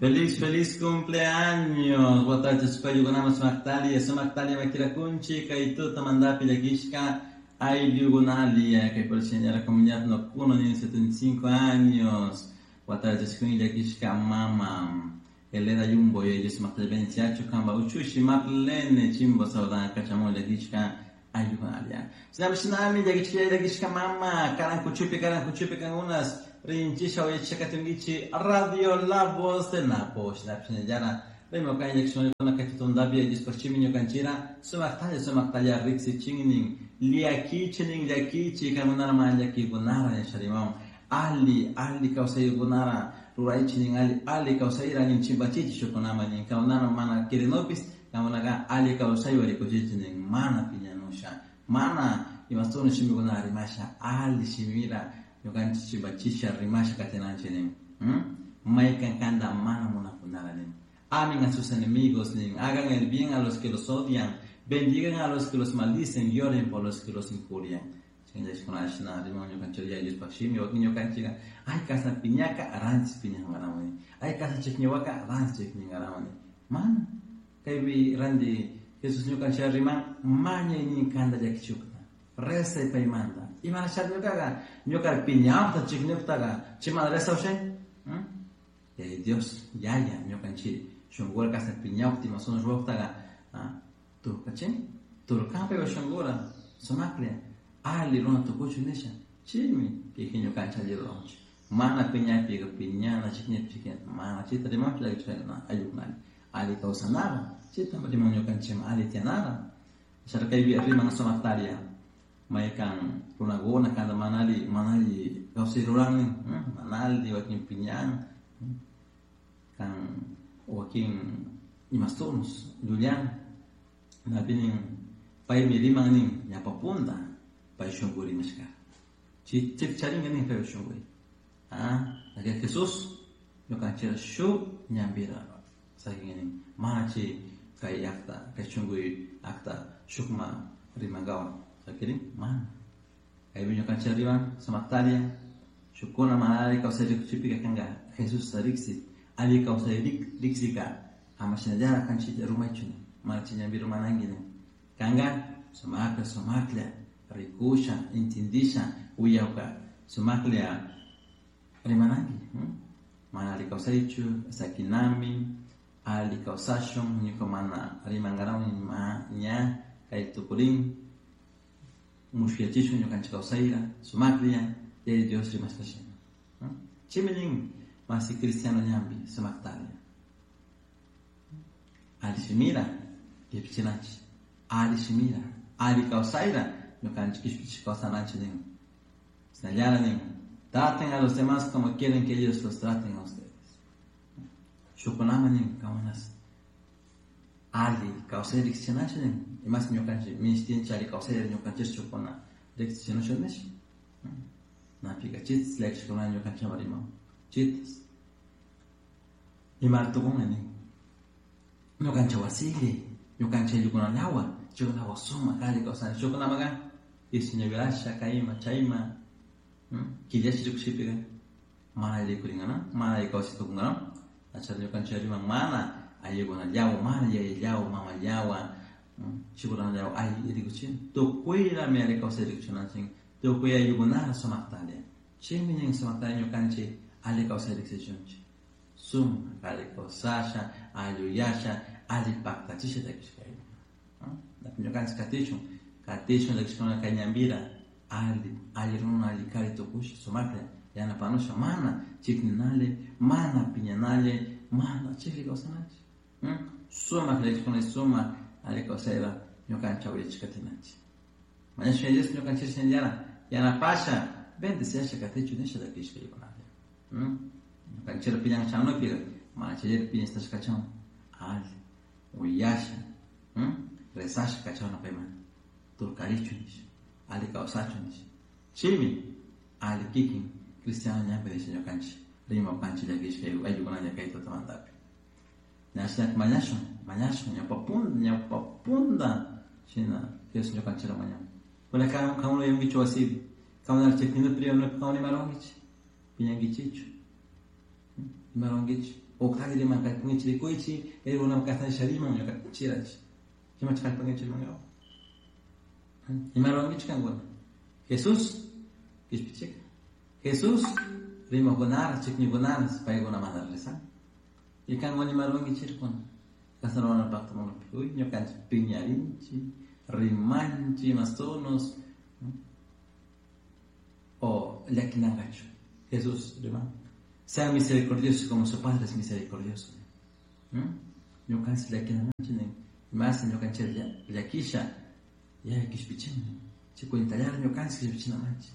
Feliz, feliz cumpleaños. Watachishpa ayllukunaman sumaktalla, sumaktalla makirakunchik kay tutamantapi llakishka ayllukunalla kay por comunidad Nocuno nin 75 años. Watachishkun llakishka mama Elena Yumbo y ellos sumaktalla bendiciachu kamba uchushi Marlene Chimbo saudan kachamun llakishka ayllukunalla. Shinami shinami llakishka llakishka mama karan kuchupi karan kuchupi kangunas rinchisha uyachakatunkichi Radio La Voz de Napo shinapshinallara rimakan llakishkunakuna kay tutundapi Diospaq ñukanchira sumaktalla sumaktalla riksichinin llakichinin llakichi kankunara mana llakikunara nisha rimawan alli alli kawsaykunara ruraychinin alli alli kawsayra nin chimpachichi shukkunaman nin kankunara mana quirinupis kankunaka alli kawsaywan rikuchichi nin mana piñanusha mana imasuna shimikunara rimasha alli shimira ñukanchik chimpachisha rimasha katinanchik nin. Maykan kanta mana munakunara nin. Amen a sus enemigos nin. Hagan el bien a los que los odian, bendigan a los que los maldicen y oren por los que los injurian. Chayllashkunashina riman ñukanchik Diospaq shimi wakin ñukanchikqa ay kasna piñaka ranchis piñankaramuni ay kasna chikñiwaka ranchis chikñinkaramuni mana kaypi ranti Jesús ñukanchik riman mañay nin kanta llakichukta rezay paymanta imanashari ñukaqa ñuka piñawta chikñuktaqa chaymanta rezawshay. Dios yaya ñukanchik shunqura kasna piñawta imasuna ruwaqtaqa turkachin turkan paypa shunqura sumaklla alli runa tukuchun nisha chaymi kikin ñukanchik alli ruranchik mana piñapi piñana chikñapi chikñana mana chayta rimanchu llakichikuna ayllukunalla alli kawsanara chayta riman ñukanchikman alli tiyanara kaypi riman sumaktalla maykan runakuna kanta mana alli mana alli kawsay ruranin mana alli wakin piñan kan wakin imastunus llullan napi nin paymi riman nin ñapapunta pay shunku rimashka chaypi charinka nin paypa shunkuy. Jesús ñukanchik shuk ñanpira sakin nin mana chay kay llaqta kay shunkuy akta shukman rimankawan sakirin mana kaypi ñukanchik riman sumaktalla shukkuna mana alli kawsay rikuchipika kanka Jesusta riksi alli kawsay riksika ama shinallara kanchik rumaychu nin mana chay ñanpi rumananki nin kanka sumaklla sumaklla rikusha intindisha uyawka sumaklla rimananki mana alli kawsaychu sakinami alli kawsashun ñuka mana rimankarawani ña kay tukurin mushuyachishun ñukanchik kawsayra sumaklla Yaya Dios rimashka shina. Chaymi nin masi cristiano ñanpi sumaktalla alli shimira kishpichinanchik alli shimira alli kawsayra ñukanchik kishpichishka kawsananchik nin. Shinallara nin traten a los demás como quieren que ellos los traten a ustedes. Shukkunaman nin kankunas alli kawsay riksichinanchik nin imas ñukanchik minishtinchik alli kawsayta ñukanchik shukkuna riksichinusha nish napika chitas llakishkuna ñukanchikman riman chitas imari tukunga nin ñukanchik wasili ñukanchik ayllukunallawan chaykunawan sumak alli kawsanchik shukkunamaka isñavirasha kayma chayma killashi rikushipika mana alli rikurinka mana alli kawsay tukunka achari ñukanchik riman mana ayllukunallawan mana yayallawan mamallawan chikunallawan alli rikuchin tukuylami alli kawsay rikuchinanchik tukuy ayllukunara sumaktalla chaymi nin sumaktalla ñukanchik alli kawsay riksichunchik sumak alli kawsasha alluyasha alli paktachisha llakishka ñukanchik katishun katishun llakishkuna kay ñanpira alli alli runa alli kari tukusha sumaklla yanapanusha mana chikninalla mana piñanalla mana chikli kawsananchik sumak llakishkuna sumak alli kawsayra ñukanchik awllichik katinanchik mañashun Dios ñukanchik shinallara yanapasha bendiciasha katichun nisha llakishka ayllukunalla ñukanchik piñan chanupika mana chaylla piñastashka kachun alli uyasha rezasha kachawna payman turkarichun nisha alli kawsachun nisha chaymi alli kikin cristiano ñanpi nisha ñukanchik rimapanchik llakishka ayllukunalla kay tutamantapi ñashnaka mañashun mañashun ñawpapunda ñawpapunda shina Jesús ñukanchikra mañan kuna kankuna yunkichu wasipi kankuna chikninupi kankuna imaruwankichik piñankichikchu imaruwankichik. O kallariman kallpankichik rikuychik, kay runaman kashna shariman ñukanchirach. Imacha kallpankichik rimankapak. Ima rurankichik kankuna. Jesús kishpichik. Jesús rimakunara, chikñukunara, paykuna mana rezan. Y kankuna ima rurankichik kuna. Kashna ruranapakta munapi. Uy, ñukanchik piñarinchik, rimanchik, mastonos. O llakinankachu. Jesús riman. Sean misericordiosos como su Padre es misericordioso. Ñukanchik llakinamanchik nin. Más ñukanchik llakisha, ya kishpichin. Chikuintallar ñukanchik kishpichinamanchik.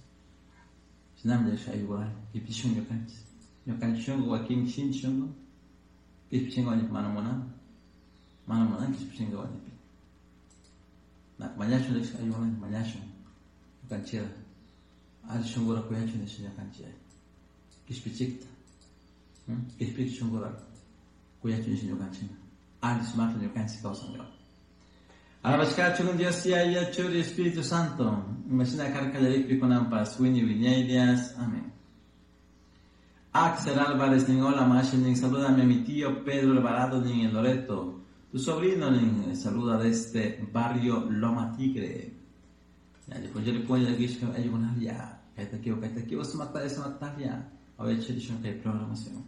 Shinami llakisha ayugural, kishpichishun ñukanchik. Ñukanchik shunku wakin shinchi shunku, kishpichinka wañupi mana munan. Mana munan kishpichinka wañupi. Mañashun llakisha ayugural, mañashun. Ñukanchik alli shunkura kuyachun nisha ñukanchik. Kishpichikta. Kishpich shunkura kuyachun nisha ñukanchik. Alli sumakta ñukanchik kawsankapak. Alabashkachun Dios Yaya, Churi, Espíritu Santo. Imagina karkallarikpi kunanpas, wiñay wiñaydias. Amén. Axel Álvarez, nin hola, mashi, nin salúdame a mi tío Pedro Alvarado, nin en Loreto. Tu sobrino, nin saluda desde barrio Loma Tigre. Ya, yo le pongo aquí, yo, ya, kayta kiwa, sumakta, sumakta, ya. A ver, chiri, shun kay programación.